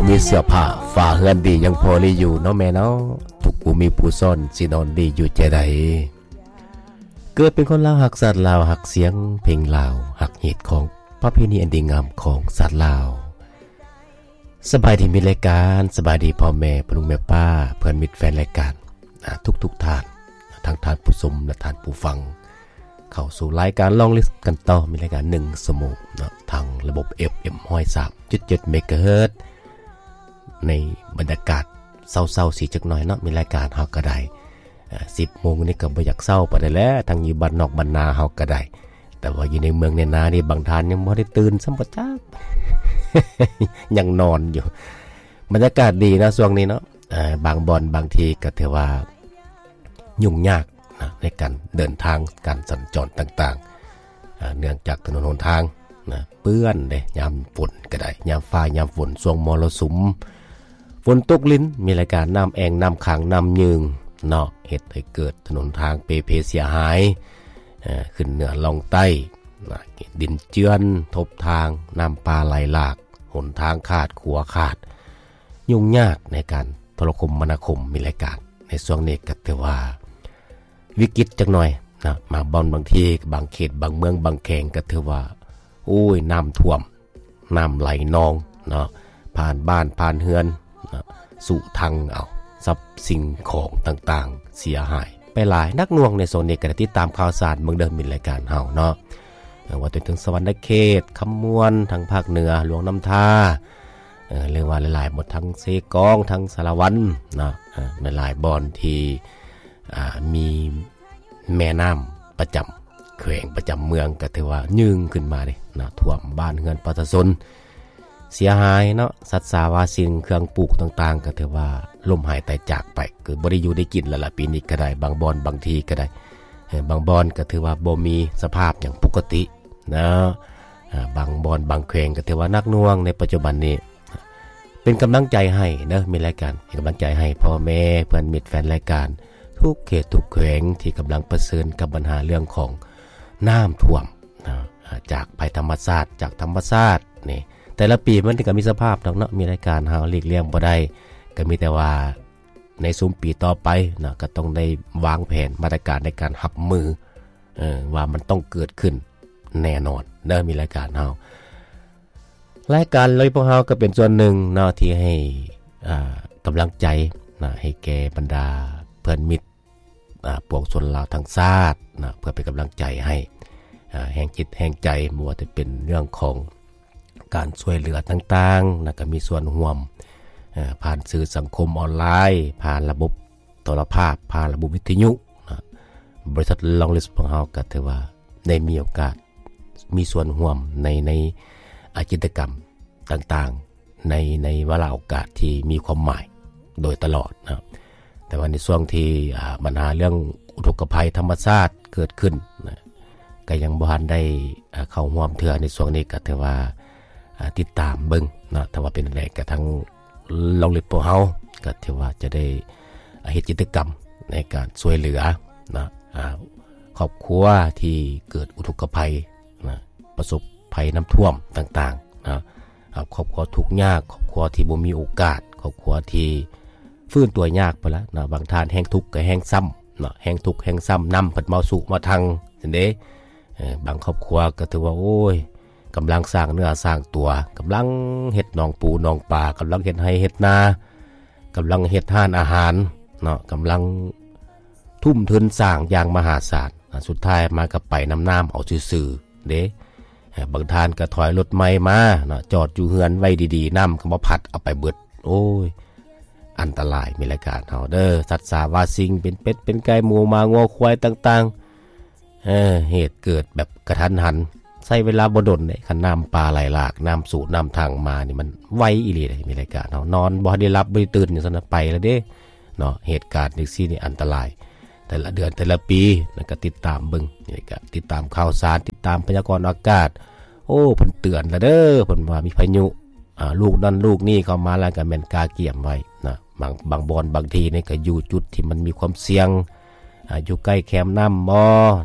ມີເສື້ອຜ້າຝາເຮືອນດີຍັງພໍມີຢູ່ເນາະແມ່ເນາະ ທຸກຜູ້ມີຜູ້ຊ້ອນ ຊິນອນດີຢູ່ຈະໃດ. ເກີດເປັນຄົນລາວຮັກຊາດລາວ ຮັກສຽງເພງລາວ ຮັກຮີດຄອງປະເພນີອັນດີງາມຂອງຊາດລາວ. ສະບາຍດີມິດລາຍການ ສະບາຍດີພໍ່ແມ່ ພໍ່ລຸງແມ່ປ້າ ເພື່ອນມິດແຟນລາຍການ ອາ ທຸກໆທ່ານ ທັງທ່ານຜູ້ຊົມ ແລະ ທ່ານຜູ້ຟັງ. ເຂົ້າສູ່ລາຍການລອງລິສກັນຕໍ່ ມີລາຍການໜຶ່ງຊົ່ວໂມງເນາະ ທາງລະບົບ ເອັຟເອັມ ຮ້ອຍສາມຈຸດເຈັດ ເມກາເຮີດ ໃນບັນຍາກາດເຊົ້າໆ ສີຈັກໜ້ອຍເນາະ ມີລາຍການເຮົາກໍໄດ້ ອາ ສິບໂມງນີ້ກໍບໍ່ຢາກເຊົ້າປານໃດແຫຼະ ທັງຢູ່ບ້ານນອກບ້ານນາເຮົາກໍໄດ້ ແຕ່ວ່າຢູ່ໃນເມືອງໃນນານີ້ ບາງທ່ານຍັງບໍ່ໄດ້ຕື່ນຊ້ຳບໍ່ຈັກ ຍັງນອນຢູ່. ບັນຍາກາດດີເນາະ ຊ່ວງນີ້ເນາະ ອາ ບາງບ່ອນບາງທີ່ກໍຖືວ່າ ຫຍຸ້ງຍາກນະ ໃນການເດີນທາງ ການສັນຈອນຕ່າງໆ ອາ ເນື່ອງຈາກຖະໜົນຫົນທາງນະ ເປື້ອນເດ້ ຍາມຝົນກໍໄດ້ ຍາມຟ້າຍາມຝົນ ຊ່ວງມໍລະສຸມ ຝົນຕົກລິນ ມີລາຍການນ້ຳແອ່ງ ນ້ຳຂັງ ນ້ຳຍືງເນາະ ເຮັດໃຫ້ເກີດຖະໜົນທາງເປເພເສຍຫາຍ ເອີ ຂຶ້ນເໜືອລ່ອງໃຕ້ນະ ດິນເຈື່ອນທົບທາງ ນ້ຳປ່າໄຫຼຫຼາກ ຫົນທາງຂາດ ຂົວຂາດ ຫຍຸ້ງຍາກໃນການໂທລະຄົມມະນາຄົມ ມີລາຍການ ໃນຊ່ວງນີ້ກໍຖືວ່າວິກິດຈັກໜ້ອຍນະ ບາງບ່ອນບາງທີ່ ບາງເຂດ ບາງເມືອງ ບາງແຂວງ ກໍຖືວ່າ ໂອ້ຍ ນ້ຳຖ້ວມ ນ້ຳໄຫຼນອງເນາະ ຜ່ານບ້ານ ຜ່ານເຮືອນເນາະ ສຸພັງເອົາ ຊັບສິ່ງຂອງຕ່າງໆ ເສຍຫາຍໄປຫຼາຍ ໜັກໜ່ວງ. ໃນຊ່ວງນີ້ກໍໄດ້ຕິດຕາມຂ່າວສານເບິ່ງເດີ ມິດລາຍການເຮົາເນາະ ເອີ ວ່າແຕ່ເຖິງສະຫວັນນະເຂດ ຄຳມ່ວນ ທາງພາກເໜືອ ຫຼວງນ້ຳທາ ເອີ ຫຼືວ່າຫຼາຍໆບ່ອນ ທັງເຊກອງ ທັງສາລະວັນເນາະ ເອີ ຫຼາຍໆບ່ອນທີ່ ອ່າ ມີແມ່ນ້ຳປະຈຳແຂວງ ປະຈຳເມືອງ ກໍຖືວ່າຍືງຂຶ້ນມາເດ້ເນາະ ຖ້ວມບ້ານເຮືອນປະຊາຊົນ ເສຍຫາຍເນາະ ສັດສາວາສິ່ງ ເຄື່ອງປູກຕ່າງໆ ກໍຖືວ່າລົ້ມຫາຍຕາຍຈາກໄປ ກໍບໍ່ໄດ້ຢູ່ໄດ້ກິນແລ້ວລະ ປີນີ້ກໍໄດ້ ບາງບ່ອນບາງທີ່ກໍໄດ້ ເອີ ບາງບ່ອນກໍຖືວ່າບໍ່ມີສະພາບຫຍັງປົກກະຕິເນາະ ອາ ບາງບ່ອນບາງແຂວງກໍຖືວ່າໜັກໜ່ວງໃນປັດຈຸບັນນີ້. ເປັນກຳລັງໃຈໃຫ້ເດີ ມີລາຍການ ເປັນກຳລັງໃຈໃຫ້ພໍ່ແມ່ ເພື່ອນມິດແຟນລາຍການ ທຸກເຂດທຸກແຂວງທີ່ກຳລັງປະເຊີນກັບບັນຫາເລື່ອງຂອງນ້ຳຖ້ວມນະ ອາ ຈາກໄພທຳມະຊາດ ຈາກທຳມະຊາດນີ້ ແຕ່ລະປີມັນກໍມີສະພາບດອກເນາະ ມີລາຍການເຮົາຫຼີກລ່ຽງບໍ່ໄດ້ ກໍມີແຕ່ວ່າໃນຊຸມປີຕໍ່ໄປເນາະ ກໍຕ້ອງໄດ້ວາງແຜນມາດຕະການໃນການຮັບມື ເອີ ວ່າມັນຕ້ອງເກີດຂຶ້ນແນ່ນອນເດີ ມີລາຍການເຮົາ. ລາຍການລາວພວກເຮົາກໍເປັນສ່ວນໜຶ່ງເນາະ ທີ່ໃຫ້ ອ່າ ກຳລັງໃຈນະ ໃຫ້ແກ່ບັນດາເພື່ອນມິດ ອ່າ ປວງຊົນລາວທັງຊາດນະ ເພື່ອເປັນກຳລັງໃຈໃຫ້ ອ່າ ແຮງຈິດແຮງໃຈ ບໍ່ວ່າຈະເປັນເລື່ອງຂອງການຊ່ວຍເຫຼືອຕ່າງໆນະ ກໍມີສ່ວນຮ່ວມ ເອີ ຜ່ານສື່ສັງຄົມອອນລາຍ ຜ່ານລະບົບໂທລະພາບ ຜ່ານລະບົບວິທະຍຸນະ ບໍລິສັດລອງລິສຂອງເຮົາກໍຖືວ່າໄດ້ມີໂອກາດ ມີສ່ວນຮ່ວມໃນ ໃນ ອາ ກິດຈະກຳຕ່າງໆ ໃນ ໃນວາລະໂອກາດທີ່ມີຄວາມໝາຍໂດຍຕະຫຼອດນະ ແຕ່ວ່າໃນຊ່ວງທີ່ ອາ ບັນຫາເລື່ອງອຸທົກກະໄພທຳມະຊາດເກີດຂຶ້ນນະ ກໍຍັງບໍ່ທັນໄດ້ ອາ ເຂົ້າຮ່ວມເທື່ອ ໃນຊ່ວງນີ້ກໍຖືວ່າ ອາ ຕິດຕາມເບິ່ງເນາະ ຖ້າວ່າເປັນຈັ່ງໃດກໍທາງ ລອງລິສພວກເຮົາກໍຖືວ່າຈະໄດ້ເຮັດກິດຈະກຳໃນການຊ່ວຍເຫຼືອນະ ອາ ຄອບຄົວທີ່ເກີດອຸທົກກະໄພນະ ປະສົບໄພນ້ຳຖ້ວມຕ່າງໆນະ ອາ ຄອບຄົວທຸກຍາກ ຄອບຄົວທີ່ບໍ່ມີໂອກາດ ຄອບຄົວທີ່ຟື້ນຕົວຍາກພຸ້ນລະນະ ບາງທ່ານແຮ່ງທຸກກໍແຮ່ງຊ້ຳເນາະ ແຮ່ງທຸກແຮ່ງຊ້ຳ ນ້ຳເພິ່ນເມົາສຸມາທັງຊັ້ນເດ້ ເອີ ບາງຄອບຄົວກໍຖືວ່າ ໂອ້ຍ ກຳລັງສ້າງເນື້ອສ້າງຕົວ ກຳລັງເຮັດໜອງປູໜອງປາ ກຳລັງເຮັດໄຮ່ເຮັດນາ ກຳລັງເຮັດຮ້ານອາຫານເນາະ ກຳລັງທຸ່ມທຶນສ້າງຢ່າງມະຫາສານ ອາ ສຸດທ້າຍມາກໍໄປນຳນ້ຳເອົາຊື່ໆເດ້ ເອີ ບາງທ່ານກໍຖອຍລົດໃໝ່ມາເນາະ ຈອດຢູ່ເຮືອນໄວ້ດີໆ ນ້ຳກໍມາພັດເອົາໄປເບິດ ໂອ້ຍ ອັນຕະລາຍ ມີລາຍການເຮົາເດີ ສັດສາວາສິ່ງ ເປັນເປັດເປັນໄກ່ ໝູໝາງົວຄວາຍຕ່າງໆ ເອີ ເຫດເກີດແບບກະທັນຫັນ ໃຊ້ເວລາບໍ່ດົນເດ້ ຄັນນ້ຳປ່າໄຫຼຫຼາກ ນ້ຳສູນ້ຳທັງມານີ້ ມັນໄວອີ່ຫຼີເດ້ ມີລາຍການເຮົາ ນອນບໍ່ໄດ້ຫຼັບບໍ່ໄດ້ຕື່ນ ຈັ່ງຊັ້ນນະ ໄປແລ້ວເດ້ເນາະ ເຫດການຈັ່ງຊີ້ນີ້ອັນຕະລາຍ ແຕ່ລະເດືອນແຕ່ລະປີ ແລ້ວກໍຕິດຕາມເບິ່ງ ນີ້ກໍຕິດຕາມຂ່າວສານ ຕິດຕາມພະຍາກອນອາກາດ ໂອ້ ເພິ່ນເຕືອນແລ້ວເດີ ເພິ່ນວ່າມີພາຍຸ ອ່າ ລູກນັ້ນລູກນີ້ເຂົ້າມາ ແລ້ວກໍແມ່ນກະກຽມໄວ້ນະ ບາງ ບາງບ່ອນບາງທີ່ນີ້ກໍຢູ່ຈຸດທີ່ມັນມີຄວາມສ່ຽງ ອ່າ ຢູ່ໃກ້ແຄມນ້ຳບໍ່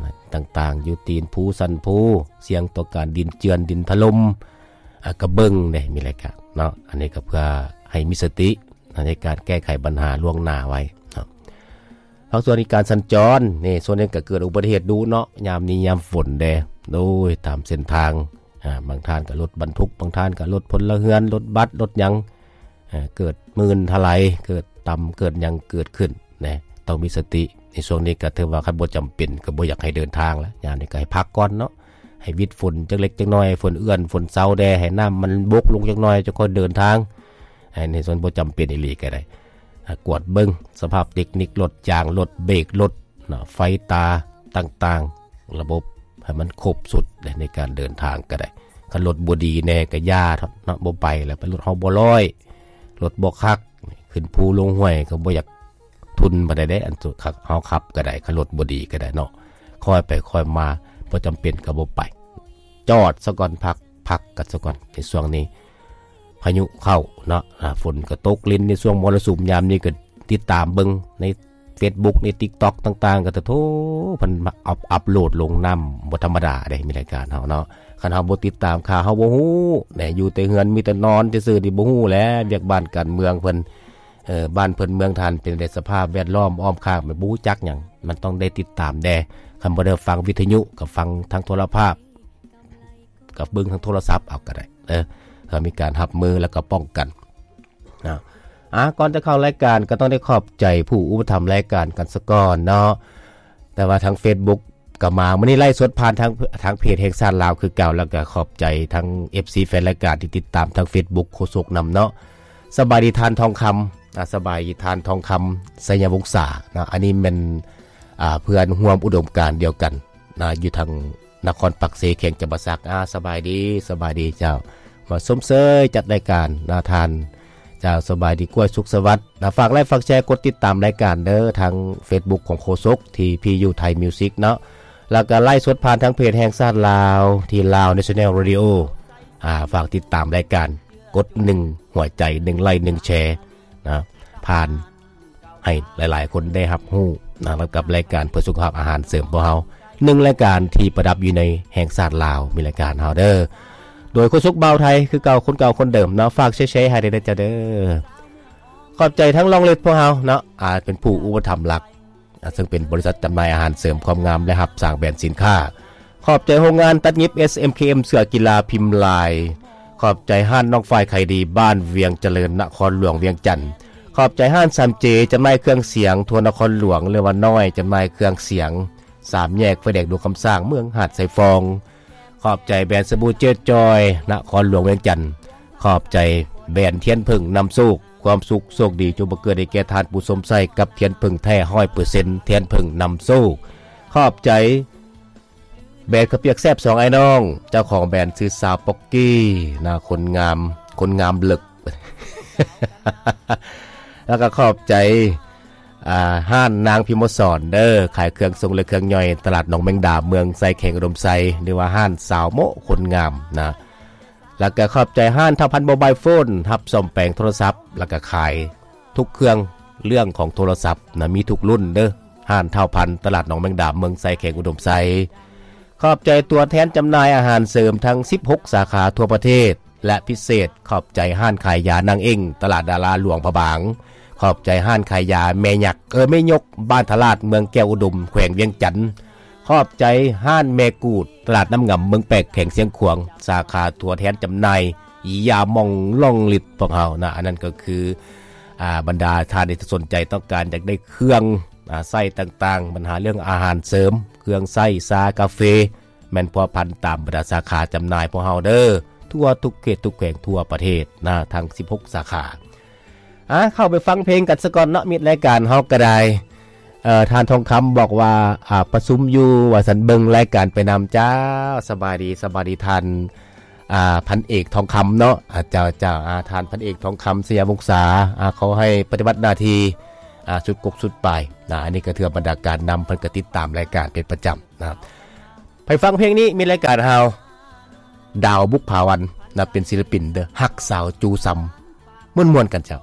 ຕ່າງໆ ຢູ່ຕີນພູ ສັນພູ ສ່ຽງຕໍ່ການດິນເຈື່ອນ ດິນຖະຫຼົ່ມ ອ່າ ກໍເບິ່ງເດ້ ມີລາຍການເນາະ ອັນນີ້ກໍເພື່ອ ໃຫ້ມີສະຕິໃນການແກ້ໄຂບັນຫາລ່ວງໜ້າໄວ້ເນາະ. ພາກສ່ວນການສັນຈອນນີ້ ສ່ວນໜຶ່ງກໍເກີດອຸບັດຕິເຫດດຸເນາະ ຍາມນີ້ຍາມຝົນເດ້ ໂດຍຕາມເສັ້ນທາງ ອາ ບາງທ່ານກໍລົດບັນທຸກ ບາງທ່ານກໍລົດພົນລະເຮືອນ ລົດບັສ ລົດຫຍັງ ເກີດມື່ນຖະໄຫຼ ເກີດຕຳ ເກີດຫຍັງເກີດຂຶ້ນນະ ຕ້ອງມີສະຕິ ໃນຊ່ວງນີ້ກໍຖືວ່າຄັນບໍ່ຈຳເປັນກໍບໍ່ຢາກໃຫ້ເດີນທາງລະ ຍາມນີ້ກໍໃຫ້ພັກກ່ອນເນາະ ໃຫ້ວິດຝົນຈັກເລັກຈັກນ້ອຍ ໃຫ້ຝົນເອື້ອນຝົນເຊົາແດ່ ໃຫ້ນ້ຳມັນບົກລົງຈັກໜ້ອຍ ຈັ່ງຄ່ອຍເດີນທາງ ໃຫ້ ໃນສ່ວນບໍ່ຈຳເປັນອີ່ຫຼີກໍໄດ້ ກວດເບິ່ງສະພາບເຕັກນິກລົດ ຢາງລົດ ເບຣກລົດເນາະ ໄຟຕາຕ່າງໆ ລະບົບໃຫ້ມັນຄົບຊຸດໃນການເດີນທາງກໍໄດ້. ຄັນລົດບໍ່ດີແດ່ກໍຢ່າເນາະ ບໍ່ໄປແລ້ວ ໄປລົດເຮົາບໍ່ລອຍ ລົດບໍ່ຄັກ ຂຶ້ນພູລົງຫ້ວຍກໍບໍ່ຢາກທຸ່ນປານໃດເດ້ ອັນເຮົາຂັບ ເຮົາຂັບກໍໄດ້ ຄັນລົດບໍ່ດີກໍໄດ້ເນາະ ຄ່ອຍໄປຄ່ອຍມາ ບໍ່ຈຳເປັນກໍບໍ່ໄປ ຈອດສາກ່ອນ ພັກ ພັກກັນສາກ່ອນໃນຊ່ວງນີ້ ພາຍຸເຂົ້າເນາະ ອາ ຝົນກໍຕົກລິນໃນຊ່ວງມໍລະສຸມ ຍາມນີ້ກໍຕິດຕາມເບິ່ງໃນເຟສບຸກ ໃນຕິກຕັອກຕ່າງໆ ກໍ ໂທ້ ເພິ່ນອັບ ອັບໂຫຼດລົງນ້ຳບໍ່ທຳມະດາເດ້ ມີລາຍການເຮົາເນາະ ຄັນເຮົາບໍ່ຕິດຕາມຂ່າວ ເຮົາບໍ່ຮູ້ແນ ຢູ່ແຕ່ເຮືອນມີແຕ່ນອນຊື່ໆ ນີ້ບໍ່ຮູ້ແຫຼະ ວຽກບ້ານການເມືອງເພິ່ນ ເອີ ບ້ານເພິ່ນເມືອງທ່ານເປັນໃດ ສະພາບແວດລ້ອມອ້ອມຂ້າງ ມັນບໍ່ຮູ້ຈັກຫຍັງ ມັນຕ້ອງໄດ້ຕິດຕາມແດ່ ຄັນບໍ່ໄດ້ຟັງວິທະຍຸ ກໍຟັງທາງໂທລະພາບ ກໍເບິ່ງທາງໂທລະສັບເອົາກໍໄດ້ເດີ ເພື່ອມີການຮັບມື ແລ້ວກໍປ້ອງກັນນະ. ອາ ກ່ອນຈະເຂົ້າລາຍການ ກໍຕ້ອງໄດ້ຂອບໃຈຜູ້ອຸປະຖຳລາຍການກັນສາກ່ອນເນາະ ແຕ່ວ່າທາງເຟສບຸກກໍມາ ມື້ນີ້ໄລຟ໌ສົດຜ່ານທາງ ທາງເພຈແຫ່ງຊາດລາວຄືເກົ່າ ແລ້ວກໍຂອບໃຈທັງເອັຟຊີແຟນລາຍການທີ່ຕິດຕາມທາງເຟສບຸກໂຄສົກນຳເນາະ. ສະບາຍດີທ່ານທອງຄຳ ອາ ສະບາຍດີທ່ານທອງຄຳ ໄຊຍະວົງສາເນາະ ອັນນີ້ແມ່ນ ອາ ເພື່ອນຮ່ວມອຸດົມການດຽວກັນນະ ຢູ່ທາງ ນະຄອນປາກເຊ ແຂວງຈຳປາສັກ ອາ ສະບາຍດີ ສະບາຍດີເຈົ້າ ມາຊົມເຊີຍຈັດລາຍການນະທ່ານ ເຈົ້າ ສະບາຍດີ ກ້ວຍສຸກສະຫວັດນະ ຝາກໄລຄ໌ ຝາກແຊ ກົດຕິດຕາມລາຍການເດີ ທາງເຟສບຸກຂອງໂຄສົກ ທີ ພີ ຢູ ໄທ ມິວຊິກ ເນາະ ແລ້ວກໍໄລຟ໌ສົດຜ່ານທາງເພຈແຫ່ງຊາດລາວ ທີ່ Lao National Radio ອາ ຝາກຕິດຕາມລາຍການ ກົດໜຶ່ງຫົວໃຈ ໜຶ່ງໄລຄ໌ ໜຶ່ງແຊ ນະ ຜ່ານ ໃຫ້ຫຼາຍໆຄົນໄດ້ຮັບຮູ້ນະ ກັບລາຍການເພື່ອສຸຂະພາບອາຫານເສີມພວກເຮົາ ໜຶ່ງລາຍການທີ່ປະດັບຢູ່ໃນແຫ່ງຊາດລາວ ມີລາຍການເຮົາເດີ ໂດຍໂຄສົກບ່າວໄທ ຄືເກົ່າ ຄົນເກົ່າຄົນເດີມເນາະ ຝາກແຊໆໃຫ້ແດ່ເຈົ້າເດີ. ຂອບໃຈທັງລອງເລັດພວກເຮົາເນາະ ອາ ເປັນຜູ້ອຸປະຖຳຫຼັກ ອາ ເຊິ່ງເປັນບໍລິສັດຈຳໜ່າຍອາຫານເສີມຄວາມງາມ ແລະ ຮັບສ້າງແບຣນສິນຄ້າ. ຂອບໃຈໂຮງງານຕັດຫຍິບ ເອສເອັມເຄເອັມ ເສື້ອກິລາພິມລາຍ. ຂອບໃຈຮ້ານນ້ອງຝ້າຍຂາຍດີ ບ້ານວຽງຈະເລີນ ນະຄອນຫຼວງວຽງຈັນ. ຂອບໃຈຮ້ານສາມເຈ ຈຳໜ່າຍເຄື່ອງສຽງທົ່ວນະຄອນຫຼວງ ຫຼືວ່ານ້ອຍ ຈຳໜ່າຍເຄື່ອງສຽງ ສາມແຍກໄຟແດງດວງຄຳສ້າງ ເມືອງຫາດຊາຍຟອງ. ຂອບໃຈແບຣນສະບູເຈດຈອຍ ນະຄອນຫຼວງວຽງຈັນ. ຂອບໃຈແບຣນທຽນເຜິ້ງນຳໂຊກ ຄວາມສຸກໂຊກດີຈົ່ງບັງເກີດໃຫ້ແກ່ທ່ານຜູ້ຊົມໃຊ້ກັບທຽນເຜິ້ງແທ້ຮ້ອຍເປີເຊັນ ທຽນເຜິ້ງນຳໂຊກ. ຂອບໃຈແບຣນເຂົ້າປຽກແຊບສອງອ້າຍນ້ອງ ເຈົ້າຂອງແບຣນຊື່ສາວປັອກກີ້ນະ ຄົນງາມ ຄົນງາມເລິກ ແລ້ວກໍຂອບໃຈ ອ່າ ຮ້ານນາງພິມມະສອນເດີ ຂາຍເຄື່ອງສົ່ງ ແລະ ເຄື່ອງຍ່ອຍ ຕະຫຼາດໜອງແມງດາ ເມືອງໄຊ ແຂວງອຸດົມໄຊ ຫຼືວ່າຮ້ານສາວໂມະຄົນງາມນະ. ແລ້ວກໍຂອບໃຈຮ້ານທ້າວພັນໂມບາຍໂຟນ ຮັບສ້ອມແປງໂທລະສັບ ແລ້ວກໍຂາຍທຸກເຄື່ອງເລື່ອງຂອງໂທລະສັບນະ ມີທຸກລຸ້ນເດີ ຮ້ານທ້າວພັນ ຕະຫຼາດໜອງແມງດາ ເມືອງໄຊ ແຂວງອຸດົມໄຊ. ຂອບໃຈຕົວແທນຈຳໜ່າຍອາຫານເສີມທັງສິບຫົກສາຂາທົ່ວປະເທດ ແລະ ພິເສດ ຂອບໃຈຮ້ານຂາຍຢານາງເອັ້ງ ຕະຫຼາດດາລາຫຼວງພະບາງ. ຂອບໃຈຮ້ານຂາຍຢາແມ່ຍັກ ເອີ ແມ່ຍົກ ບ້ານທະລາດ ເມືອງແກ້ວອຸດົມ ແຂວງວຽງຈັນ. ຂອບໃຈຮ້ານແມ່ກູດ ຕະຫຼາດນ້ຳງຳ ເມືອງແປກ ແຂວງຊຽງຂວາງ ສາຂາຕົວແທນຈຳໜ່າຍຢາໝອງລອງລິດພວກເຮົານະ. ອັນນັ້ນກໍຄື ອາ ບັນດາທ່ານທີ່ສົນໃຈຕ້ອງການຢາກໄດ້ເຄື່ອງ ອາ ໃຊ້ຕ່າງໆ ບັນຫາເລື່ອງອາຫານເສີມ ເຄື່ອງໃຊ້ ຊາ ກາເຟ ແມ່ນພົວພັນຕາມບັນດາສາຂາຈຳໜ່າຍພວກເຮົາເດີ ທົ່ວທຸກເຂດທຸກແຂວງທົ່ວປະເທດນະ ທັງສິບຫົກສາຂາ. ອາ ເຂົ້າໄປຟັງເພງກັນສາກ່ອນເນາະ ມິດລາຍການເຮົາກໍໄດ້. ເອີ ທ່ານທອງຄຳບອກວ່າ ອາ ປະຊຸມຢູ່ວ່າຊັ້ນ ເບິ່ງລາຍການໄປນຳ. ເຈົ້າ ສະບາຍດີ ສະບາຍດີທ່ານ ອາ ພັນເອກທອງຄຳເນາະ. ອາ ເຈົ້າ ເຈົ້າ ອາ ທ່ານພັນເອກທອງຄຳ ໄຊຍະວົງສາ ອາ ຂໍໃຫ້ປະຕິບັດໜ້າທີ່ ອາ ສຸດກົກສຸດປາຍນະ. ອັນນີ້ກໍຖືວ່າບັນດາການນຳເພິ່ນກໍຕິດຕາມລາຍການເປັນປະຈຳນະ. ໄປຟັງເພງນີ້ ມິດລາຍການເຮົາ ດາວບຸບຜາວັນນະ ເປັນສິນລະປິນເດີ ຮັກສາວຈູ່ຊຳ ມ່ວນໆກັນເຈົ້າ.